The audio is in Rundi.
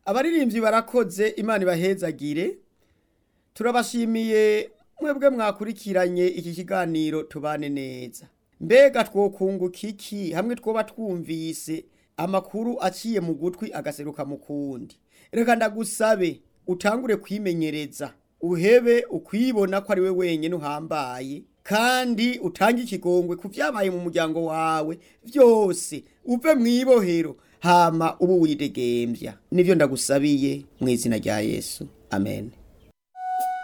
Abaririmbyi barakoze, Imana ibahezagire. Turabashimiye mwebwe mwakurikiranye iki kiganiro Tubane Neza. Mbega twokunguka iki hamwe twoba twumvise amakuru aciye mu gutwi agaseruka mu kundi? Reka ndagusabe utangure kwimenyereza, uhebe ukwibona ko ari we wenyine uhambaye, kandi utange ikigongwe ku vyabaye mu muryango wawe vyose, uve mw'ibohero hama ubu widegembya. Nivyo ndagusabiye mu izina rya Yesu, amen.